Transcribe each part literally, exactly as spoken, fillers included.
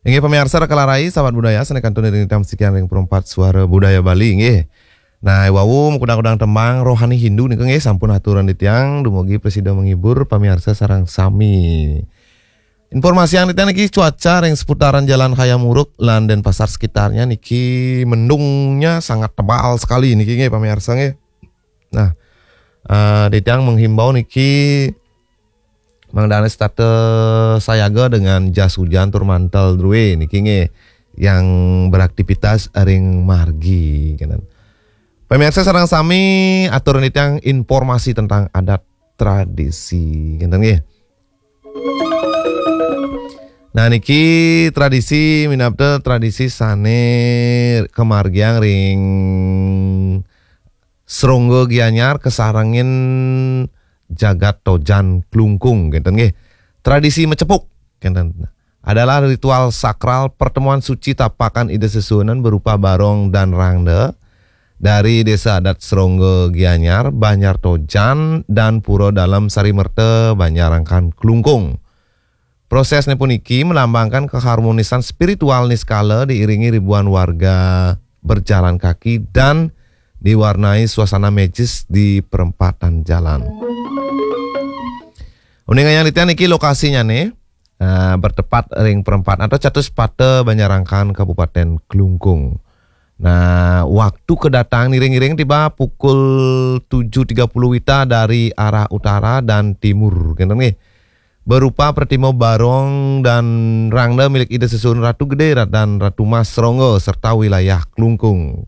Inggih pamiarsa, raka larai sahabat budaya sané kantun iring titiang sikian ring Perempat Suara Budaya Bali, inggih. Nah, wau makudang-kudang tembang rohani Hindu nika, inggih, sampun aturan titiang dumugi prasida menghibur pamiarsa sareng sami. Informasi yang titiang niki cuaca ring seputaran Jalan Hayam Wuruk lan Denpasar sekitarnya niki mendungnya sangat tebal sekali niki, inggih, pamiarsa, inggih. Nah, eh, titiang menghimbau niki mangdané setata sayaga dengan jas hujan tur mantel drué niki, inggih, yang beraktivitas ring margi, kénten. Pamiarsa sareng sami, atur titiang informasi tentang adat tradisi, kénten, inggih. Nah, niki tradisi minab tradisi sané kamargiang ring Srongga Gianyar kasarengin Jagat Tojan Klungkung, kénten, inggih. Tradisi macepuk, kénten, adalah ritual sakral pertemuan suci tapakan Ida Sesuhunan berupa barong dan rangda dari Desa Adat Srongga Gianyar, Banjar Tojan, dan Pura Dalem Sarimerta, Banjar Angkan Klungkung. Prosesnya puniki melambangkan keharmonisan spiritual niskala diiringi ribuan warga berjalan kaki dan diwarnai suasana magis di perempatan jalan. Uning ayang titiang niki lokasinya nih, eh, bertepat ring perempatan atau Catus Pata, Banjarangkan, Kabupaten Klungkung. Nah, waktu kedatangan ngiring-ngiring tiba pukul tujuh tiga puluh wita dari arah utara dan timur, kénten, nggih. Berupa pertimo barong dan rangda milik Ida Sesuhunan Ratu Gedé dan Ratu Mas Ronggo serta wilayah Klungkung.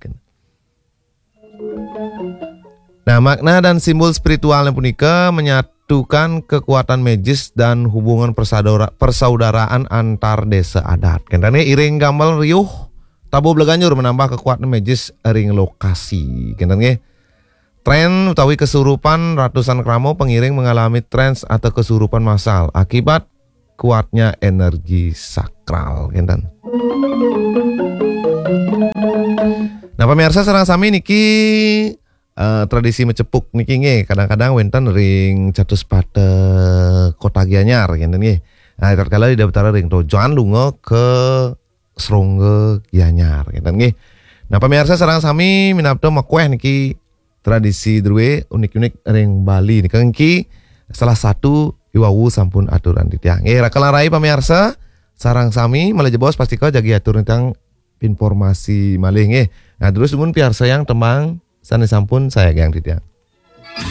Nah, makna dan simbol spiritualnya punika menyatukan kekuatan magis dan hubungan persaudara-, persaudaraan antar desa adat. Kénten, nggih, iring gambel riuh, tabuh bleganjur menambah kekuatan magis ring lokasi. Kénten, nggih. Tren utawi kesurupan ratusan krama pengiring mengalami tren atau kesurupan massal akibat kuatnya energi sakral, kénten. Nah, pamiarsa sareng sami niki, eh, tradisi macepuk niki nggih kadang-kadang wénten ring Catus Pata Kota Gianyar, kénten, nggih. Nah, tatkala Ida Betara ring Tojan lunga ka Srongga Gianyar, kénten, nggih. Nah, pamiarsa sareng sami minab makuéh niki tradisi drué unik-unik ring Bali nika niki salah satu iwau sampun aturan titiang. Nggih, raka larai pamiarsa sareng sami malih jebos pastika jagi atur titiang informasi malih, nggih. Nah, terus dumun piarsayang tembang sané sampun sayagiang titiang.